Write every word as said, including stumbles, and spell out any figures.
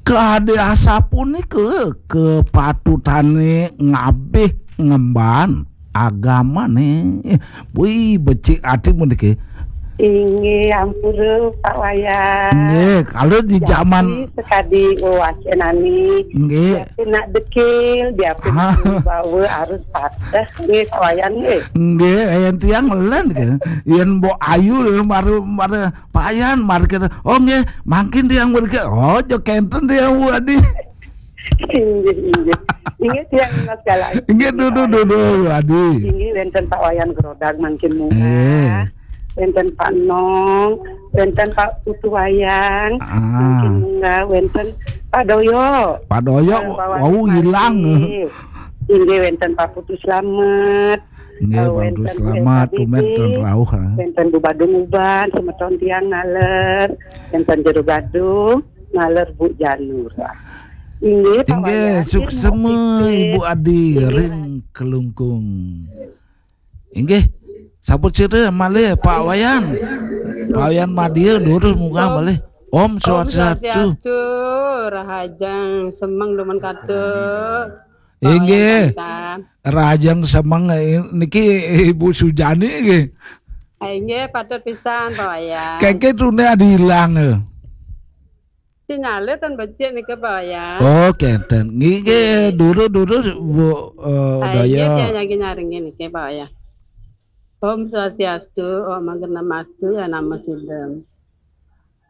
Kade asapunika kepatutane ngabih ngemban agamane. Wih, becik ati puniki. Inggih, ampura, Pak Wayan. Nggih, kalau di jaman Jati sekadi wewacenane. Nggih. Jati nak dekil, dia pun bawa harus patah. Nggih, Pak Wayan, nggih. Nggih, yen tiang len ke. Yen mbok ayu lho, mari, mari Pak Wayan, mari kita. Oh, nggih, mangkin tiang mriki. Oh, aja kenten tiang, Bu Adi. Inggih, inggih. Inggih, tiang menika sekali. Inggih, dudu, dudu, Bu Adi. Inggih, wenten Pak Wayan Grodag mangkin munggah. Eh. Wenten Pak Nong, wenten Pak Putu Wayang, ah, mangkin munggah, wenten Pak Doyo. Pak Doyo, eh, Pak wau Wayang hilang. Mangkin. Inggih, wenten Pak Putu Slamet. Nggih, eh, Pak Putu Slamet, wenten Bu Eka Didi, tumet dan rauh, ah. Wenten Bu Badung Uban, semeton tiang ngaler, wenten Jero Gadung, ngaler Bu Janur. Inggih, Pak Wayan, inggih, suksema, Ibu Adi, inggih, ring Kelungkung. Inggih, sabut sira malih, Pak Wayan. Pak Wayan Madya, durus munggah malih. Om Swastiastu. Om Swastiastu, rahajeng semeng dumun katut. Inggih. Pak Wayan, rahajeng semeng, eh, niki Ibu Sujani nggih. Ah, inggih, patut pisan, Pak Wayan. Keke tune adi ilang, eh. Sinyale ten becik niki, Pak Wayan. Oh, kenten. Nggih, nggih, durus, durus, Bu, eh, ah, inggih, Daya. Tiang nyarengin niki, Pak Wayan. Om Swastiastu, Om Agnamastu, ya nama sidem.